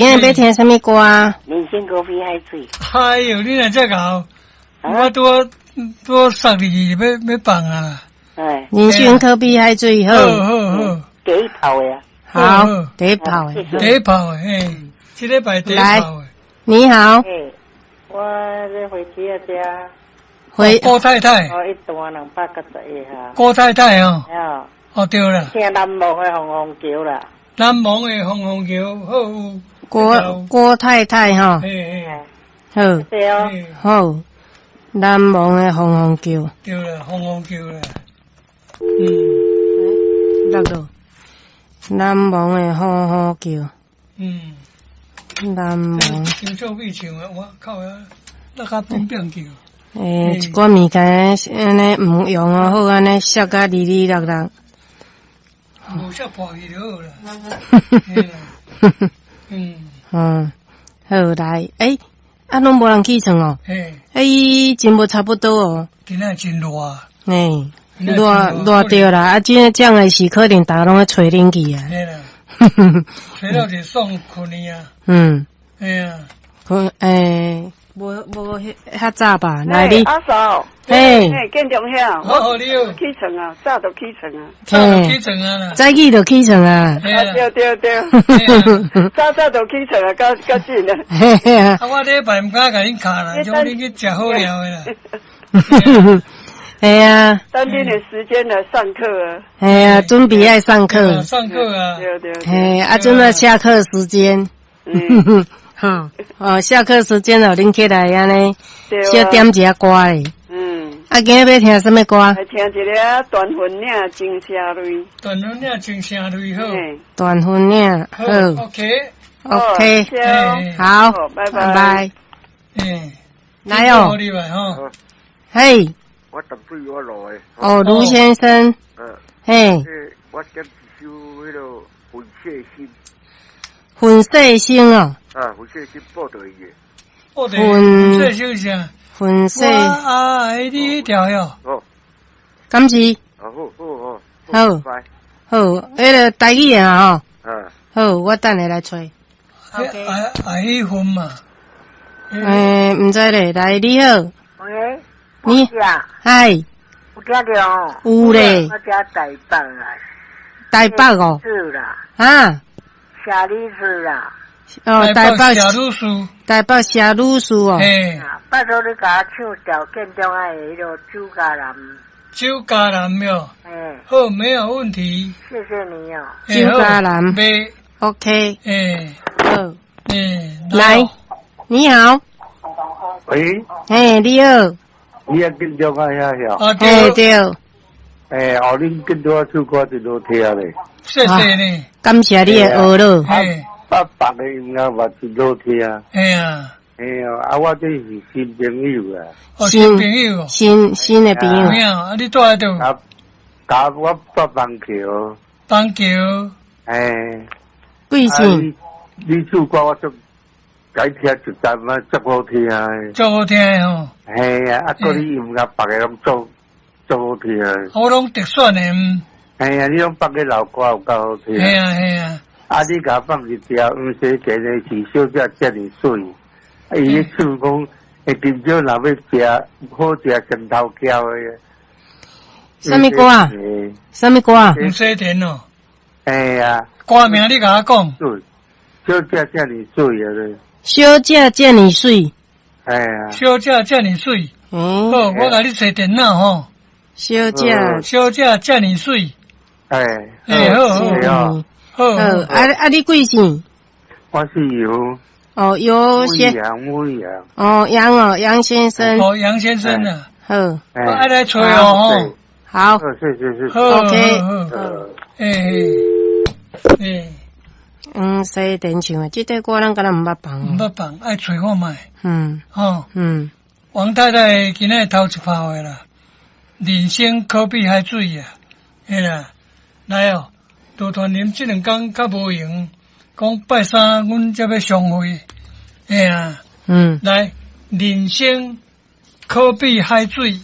今日欲聽啥物歌？人生可比海水。哎喲，你若遮𠢕，我拄仔拄仔塞入去欲放啊！哎，人生可比海水好。好好好，第一炮的啊。好，第一炮的。第一炮的，嘿，這禮拜第一炮的。你好。欸，我咧回去啊遮。回郭太太。哦，一段291下。郭太太哦。哦，對啦。聽難忘的鳳凰橋啦。難忘的鳳凰橋，好。郭太太吼。好。對哦。好，難忘的鳳凰橋。對啦，鳳凰橋啦。落落。難忘的鳳凰橋。難忘。張秀美唱的，我靠啊，落較變變叫。欸，一寡物件按呢毋用哦，好按呢摔甲離離落落。無摔破去就好啦。嗯，好來，欸，啊，攏無人起床哦。嘿。欸，真無差不多哦。今仔真熱。嘿，熱熱著啦，啊，這這樣的時可能逐家攏咧吹冷氣啊。嘿啦。吹了就爽睏去啊。嘿啊。睏欸。無無遐早吧？來你，阿嫂，嘿，建中兄，我起床啊，早就起床啊，早就起床啊，早起就起床啊，對對對，早早就起床啊，較較緊啊。啊，我禮拜毋敢共恁敲啦，叫恁去食好料的啦。嘿啊，等恁的時間來上課啊。嘿啊，準備愛上課，上課啊，對對。嘿，啊，陣來下課時間。好，哦，下課時間哦，恁起來按呢，小點一下歌咧。啊，今日欲聽啥物歌？來聽一个斷魂嶺情聲淚。斷魂嶺情聲淚好。斷魂嶺好。 OK。 OK。好，拜拜。拜。來哦。嘿。我淡水我來。哦，盧先生。嘿。我點一首彼个粉細心。粉細心哦。啊，粉細心報對伊的。報對。粉細心啥？粉細。我愛你條喲。哦。敢是？好好好。好。好，彼个台語的啊吼。嗯。好，我等下來揣。愛愛彼份嘛。欸，毋知咧，來你好。喂。你。嗨。有聽著哦。有咧。我佇台北啦。台北哦。是啦。啊。謝女士啦。哦，台北謝女士，台北謝女士哦。嘿，拜託你共我唱條建中愛的彼个酒家男。酒家男喲。嗯。好，沒有問題。謝謝你哦。酒家男。OK。欸。好。欸。來，你好。喂。嘿，你好。你也建中愛遐曉？啊，對。對。欸，哦，恁建中唱歌真好聽咧。謝謝你。感謝你的學了。嘿。啊，別个音樂嘛真好聽。嘿啊。嘿啊，啊，我這是新朋友啊。哦，新朋友。新的朋友。有影啊，你住佇佗？啊，啊，我住板橋。板橋。欸。貴姓？你唱歌我足共聽一陣啊，足好聽的。足好聽的吼。嘿啊，啊，閣你音樂別个攏足足好聽的。我攏特選的。嘿啊，你攏放个老歌有夠好聽。嘿啊嘿啊。啊！你共放一條黃西田的是小姐遮爾媠，啊！伊咧唱講，欸，今朝若欲食好食生頭橋的。啥物歌啊？啥物歌啊？黃西田哦。哎呀。歌名你共我講。小姐遮爾媠啊！小姐遮爾媠。哎呀。小姐遮爾媠。嗯。好，我共你揣電腦吼。小姐。小姐遮爾媠。哎。欸，好好。好，啊啊！你貴姓？我姓尤。哦，尤先。楊楊。哦，楊哦，楊先生。哦，楊先生啊。好。我愛來揣哦。好。是是是。 OK。欸欸。嗯，西田唱的這塊歌，咱敢若毋捌放。毋捌放，愛揣看覓。吼。王太太今仔頭一炮的啦，人生可比海水啊，嘿啦，來哦。杜團林這兩工較無閒，講拜三阮才欲相會，嘿啊，來，人生可比海水。